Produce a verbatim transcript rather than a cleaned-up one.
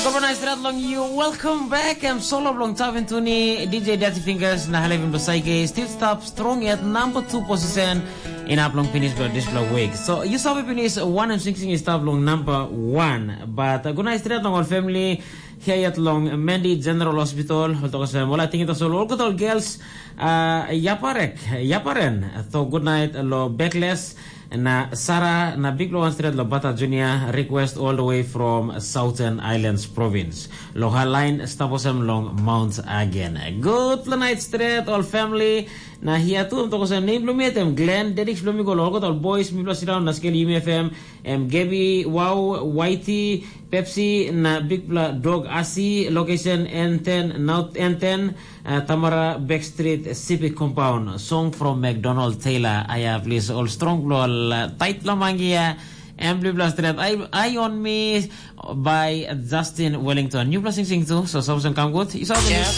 Kobana stret long you. Welcome back. Em solo long Tavin Tuni, D J Dirty Fingers na Halevin Basaige. Still stop strong at number two position. Inap long finish by this block week. So you saw finish one and sixteen is stop long number one. But uh, good night stret long our family. Here yet long Mandy General Hospital. Hold on, well, I think it was all good all girls. Uh, Yaparek, Yaparen. So good night lo Backless. Na Sara na big lo one stret lo Bata Junior request all the way from Southern Islands province. Lo her line stop osem long Mount again. Good night stret all family. Na here too toko sem name lo mi etem Glenn, Dedix lo mi go lo all boys, mi plus down na scale U M F M, em Gaby, Wow, Whitey, Pepsi, na big dog Asi, location N ten, North N ten, uh, Tamara Backstreet Civic Compound. Song from McDonald Taylor. I have list all strong lo all uh, tight lo mangia. Em blue blast red. I, I on me by Justin Wellington. New blessing sing too. So Samson come good. You saw the